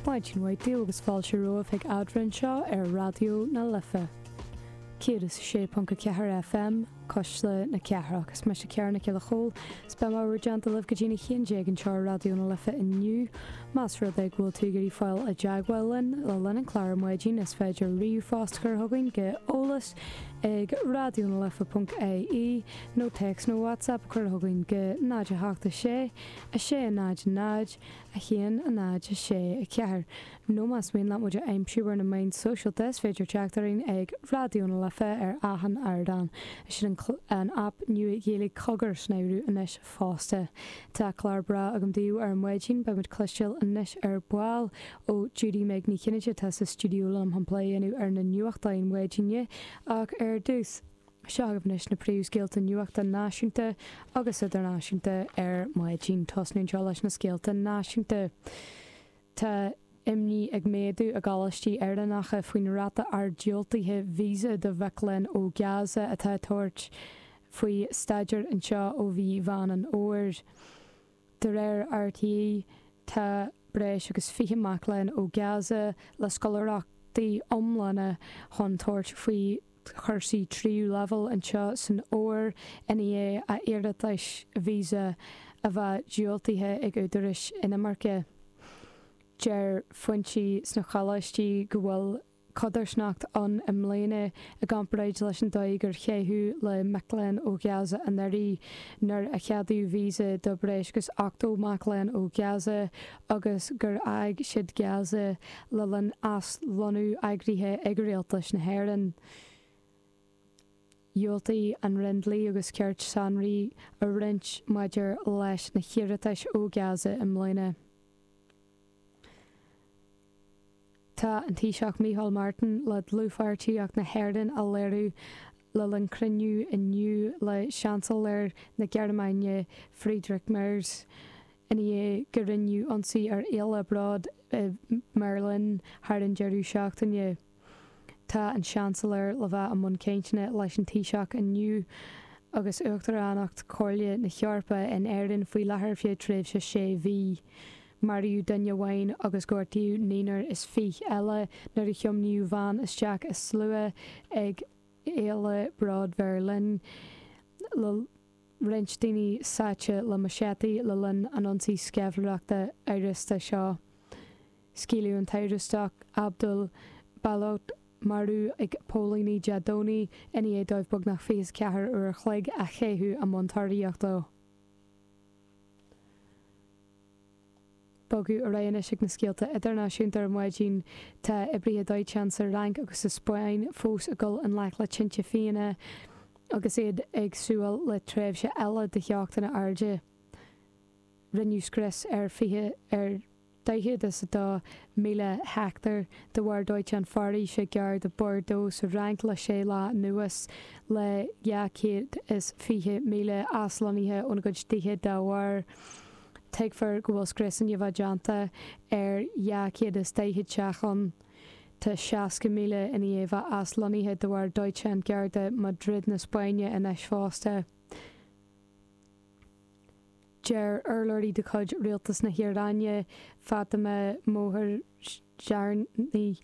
Maidin mhaith daoibh agus fáilte romhaibh chuig Eadrainn anseo ar Raidió na Life 106.4 FM, Cuisle na Cathrach. Is mise Ciara Nic Giolla Chóill is beidh mé bhur dteannta libh go dtí'n 11 anseo ar Raidió na Life inniu. Más rud é go bhfuil tú ag iarraidh fáil i dteagmháil linn le linn an chláir ar maidin is féidir ríomhphost a chur chugainn go eolas ag raidionalife.ie nó téacs nó WhatsApp a chur chugainn go 0 8 6 6 0 0 1 0 6 4 Nó más mian leat muid a aimsiú ar na meáin sóisialta is féidir teacht orainn ag Raidió na Life ar achan ardán. Sin an aip nua Ghaeilge Cogar san áireamh anois fosta. Tá clár breá agam daoibh ar maidin. Beidh muid cloisteáil anois ar ball ó Judy Meg Ní Chinnéide atá sa stiúideo liom chun plé a dhéanamh ar na nuachtáin mhaidine. Ach ar dtús, seo agaibh anois na príomhscéalta nuachta náisiúnta agus idirnáisiúnta ar maidin. Tosnú anseo leis na scéalta náisiúnta. Tá imní ag méadú i gcoláistí Éireannacha faoin ráta ard diúltaithe visa do mhic léinn ó Gaza atá ag tabhairt faoi staidéar anseo ó mhí Mheán an Fhómhair. De réir RTÉ, tá breis agus 20 mac léinn ó Gaza le scoláireachtaí iomlána chun tabhairt faoi chúrsaí tríú leibhéal anseo san fhómhar i ndiaidh a n-iarratais visa a bheith diúltaithe ag údaráis inimirce. Deir foinsí sna coláistí go bhfuil codarsnacht ann i mbliana i gcomparáid leis an dóigh gur caitheadh le mic léinn ó Ghaza anuraidh nuair a ceadaíodh visa do breis agus 80 mac léinn ó Ghaza agus gur fhág siad Gaza le linn aslonnú eagraithe ag Rialtas na hÉireann. Dhiúltaigh an Roinn Dlí agus Cirt sonraí a roinnt maidir leis na hiarratais ó Ghaza i mbliana. Tá an Taoiseach Micheál Martin le dlúthpháirtíocht na hÉireann a léiriú le linn cruinniú inniu le Seansailéir na Gearmáine Friedrich Merz. I ndiaidh go rinneadh ionsaí ar Fhéile Bród i mBeirlín thar an deireadh seachtaine, tá an Seansailéir le bheith i mbun cainteanna leis an Taoiseach inniu agus Uachtaránacht Chomhairle na hEorpa in Éirinn faoi láthair feadh tréimhse sé mhí. Maraíodh duine amháin agus gortaíodh naonúr is fiche eile nuair a thiomnaíodh veain isteach i slua ag Fhéile Bród Bheirlín le roinnt daoine sáite le machete le linn an ionsaí sceimhlitheoireachta amhrasta seo. Scaoileadh an t-amhrastach Abdul Baluch marbh ag póilíní Dé Domhnaigh i ndiaidh dóibh beagnach 24 uair a chloig a chaitheamh i mbun tóraíochta dó. Bogadh ar aghaidh anois ag na scéalta idirnáisiúnta ar maidin. Tá oibrithe dóiteáin sa Fhrainc agus sa Spáinn fós ag dul i ngleic le tinte fiáine agus iad ag súil le tréimhse eile de theochtanna arda. Rinneadh scrios ar 20 ar 42,000 heicteár de bharr dóiteán foraoise gar do Bordeaux sa Fhrainc le sé lá anuas, le 220,000 aslonnaithe óna gcuid tithe dá bharr. Tuigtear go bhfuil scrios i ndiaidh a bheith déanta ar 240 teach ann. Tá 60,000 i ndiaidh a bheith aslonnaithe de bharr dóiteán gar do Madrid na Spáinne anois fosta. Deir urlabhraí de chuid rialtas na hIaráine, Fatemeh Mohajerani,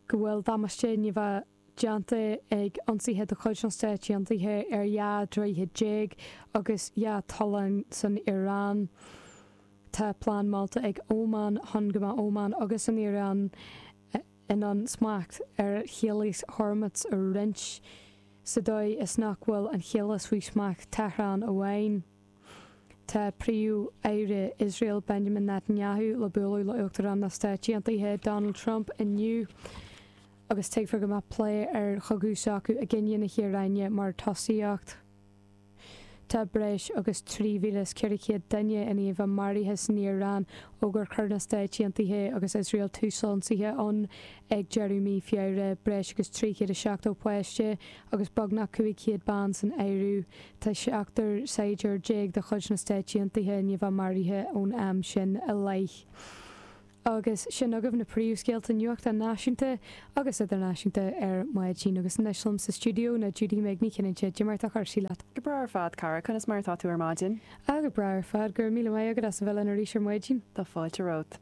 go bhfuil damáiste i ndiaidh a bheith déanta ag ionsaithe de chuid na Stáit Aontaithe ar 12 droichead agus 2 tollán san Iaráin. Tá plean molta ag Óman chun go mbeadh Óman agus an Iaráin in ann smacht ar Chaolas Hormuz a roinnt, sa dóigh is nach bhfuil an chaolas faoi smacht Tehran amháin. Tá Príomh-Aire Iosrael Benjamin Netanyahu le bualadh le Uachtarán na Stáit Aontaithe Donald Trump inniu agus tuigtear go mbeadh plé ar chogadh s'acu i gcoinne na hIaráine mar tosaíocht. Tá breis agus 3,400 duine i ndiaidh a bheith maraithe san Iaráin ó gur chuir na Stáit Aontaithe agus Iosrael tús le hionsaithe ann ag deireadh mí Feabhra, breis agus 370 páiste agus beagnach 500 bean san áireamh. Tá seachtar saighdiúir de chuid na Stáit Aontaithe i ndiaidh a bheith maraithe ón am sin i leith. Agus sin agaibh na príomhscéalta nuachta náisiúnta agus idirnáisiúnta ar maidin. Agus anois liom sa stiúideo ná Judy Meg Ní Chinnéide. Cad é mar atá cúrsaí leat? Go breá ar fad, cara. Conas mar atá tú ar maidin? Ah, go breá ar fad. Go raibh míle maith agat as a bheith linn arís ar maidin. Tá fáilte romhat.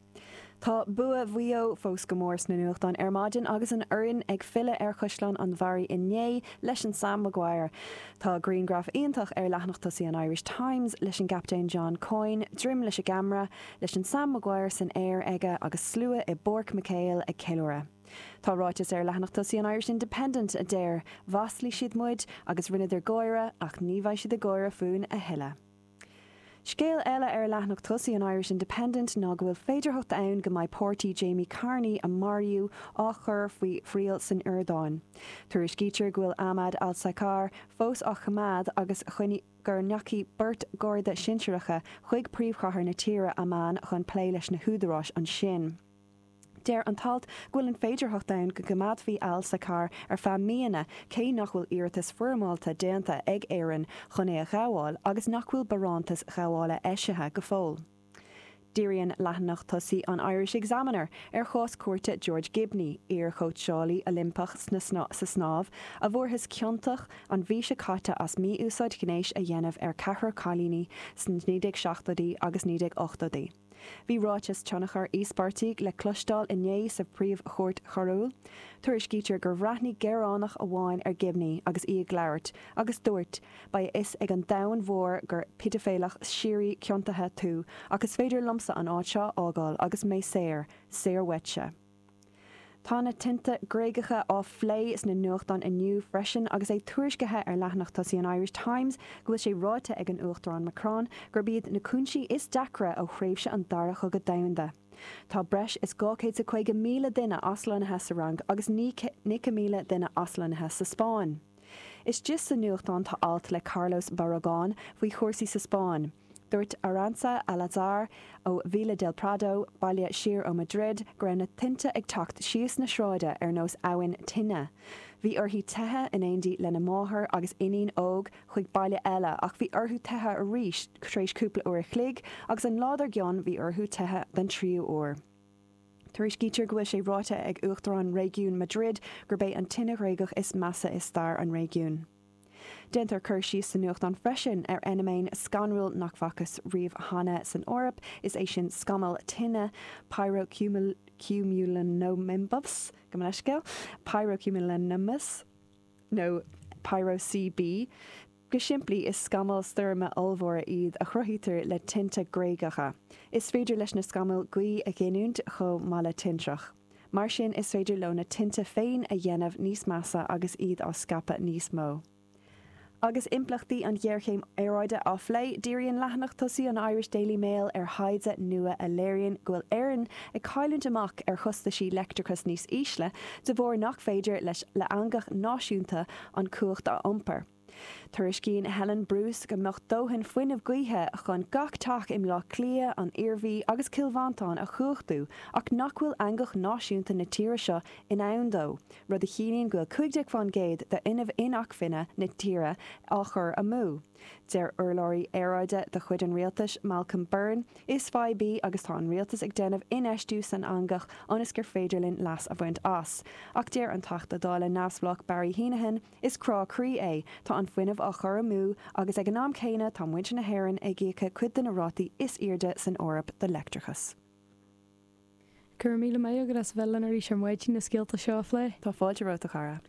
Tá bua Mhaigh Eo fós go mór sna nuachtáin ar maidin agus an fhoireann ag filleadh ar Chaisleán an Bharraigh inné leis an Sam Maguire. Tá grianghraf iontach ar leathanach tosaigh an Irish Times leis an gcaptaen John Coyne, droim leis an gceamara, leis an Sam Maguire san aer aige agus slua i bPáirc McHale ag ceiliúradh. Tá ráiteas ar leathanach tosaigh an Irish Independent a deir, Mhaslaigh siad muid agus rinneadar gáire ach ní bheidh siad ag gáire fúinn a thuilleadh. Scéal eile ar leathanach tosaigh an Irish Independent ná go bhfuil féidearthacht ann go mbeidh páirtí Jamie Carney a maraíodh á chur faoi thriail san Iordáin. Tuairiscítear go bhfuil Ahmad Al Saqar fós á choimeád agus go ndeachaigh beirt gharda sinsearacha chuig príomhchathair na tíre, Amman, chun plé leis na húdaráis ansin. Deir an t-alt go bhfuil an féidearthacht ann go gcoimeádfaí Al Saqar ar feadh míonna cé nach bhfuil iarratas foirmeálta déanta ag Éirinn chun é a ghabháil agus nach bhfuil barántas gabhála eisithe go fóill. Díríonn leathanach tosaigh an Irish Examiner ar chás cúirte George Gibney, iar-chóitseálaí Oilimpeach sa snámh, a bhfuarthas ciontach an mhí seo caite as mí-úsáid ghnéis a dhéanamh ar ceathrar cailíní sna 1970idí agus 1980idí. Bhí ráiteas tionchair íospartaigh le cloisteáil inné sa Phríomh-Chúirt Choiriúil. Tuairiscítear gur bhreathnaigh gearánach amháin ar Gibney agus í ag labhairt, agus dúirt, Beidh a fhios ag an domhan mhór gur peidiféalach síoraí ciontaithe tú ach is féidir liomsa an áit seo a fhágáil agus mé saor, saor uaitse. Tá na tinte Gréagacha á phlé sna nuachtáin inniu freisin agus é tuairiscithe ar leathanach tosaigh an Irish Times go bhfuil sé ráite ag an Uachtarán Macron gurb iad na cúinsí is deacra ó thréimhse an Dara Chogadh Domhanda. Tá breis is 250,000 duine aslonnaithe sa Fhrainc agus 90,000 duine aslonnaithe sa Spáinn. Istigh sa nuachtán tá alt le Carlos Barragán faoi chúrsaí sa Spáinn. Dúirt Arantza Alazar ó Villa del Prado, baile siar ó Madrid, go raibh na tinte ag teacht síos na sráide ar nós abhainn tine. Bhí uirthi teitheadh in éindí lena máthair agus iníon óg chuig baile eile ach bhí orthu teitheadh arís tar éis cúpla uair a chloig agus an lá dár gcionn bhí orthu teitheadh den tríú huair. Tuairiscítear go bhfuil sé ráite ag Uachtarán Réigiún Madrid gurb é an tine Ghréagach is measa i stair an réigiúin. Déantar cur síos sa nuachtán freisin ar fheiniméan scanrúil nach bhfacthas riamh cheana san Eoraip, is é sin scamall tine pyrocumulonimbus, gabh mo leithscéal, pyrocumulonimbus nó pyro-CB. Go simplí, is scamaill stoirme ollmhóra iad a chruthaítear le tinte Gréagacha. Is féidir leis na scamaill gaoth a ghiniúint chomh maith le tintreach. Mar sin, is féidir leo na tinte féin a dhéanamh níos measa agus iad á scaipeadh níos mó. Agus impleachtaí an ghéarchéim aeráide á phlé, díríonn leathanach tosaigh an Irish Daily Mail ar thaighde nua a léiríonn go bhfuil Éirinn ag cailliúint amach ar chostaisí leictreachais níos ísle de bharr nach féidir leis le eangach náisiúnta an cumhacht a iompar. Tuairiscíonn Helen Bruce go mbeadh dóthain fuinnimh gaoithe chun gach teach i mBleá Cliath, an Iarmhí agus Cill Mhantáin a chumhachtú ach nach bhfuil eangach náisiúnta na tíre seo in ann dó, rud a chiallaíonn go bhfuil 15% d'fhuinneamh inacmhainne na tíre á chur amú. Deir urlabhraí aeráide de chuid an rialtais, Malcolm Byrne, Is fadhb í agus tá an rialtas ag déanamh infheistiú san eangach ionas gur féidir linn leas a bhaint as. Ach deir an Teachta Dála neamhspleách Barry Heneghan, Is crá croí é, tá an fuinneamh á chur amú agus ag an am céanna tá muintir na hÉireann ag íoca cuid de na rátaí is airde san Eoraip do leictreachas. Go raibh míle maith agat as a bheith linn arís ar maidin na scéalta seo a phlé. Tá fáilte romhat a chara.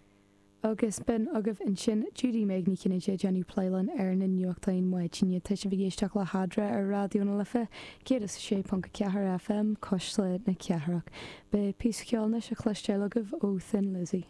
Agus b'in agaibh ansin Judy Meg Ní Chinnéide ag déanamh plé linn ar na nuachtáin maidine. Tá sibh ag éisteacht le hEadra ar Raidió na Life 106.4 FM, Cuisle na Cathrach. Beidh píosa ceoil anois á chloisteáil agaibh ó Thin Lizzy.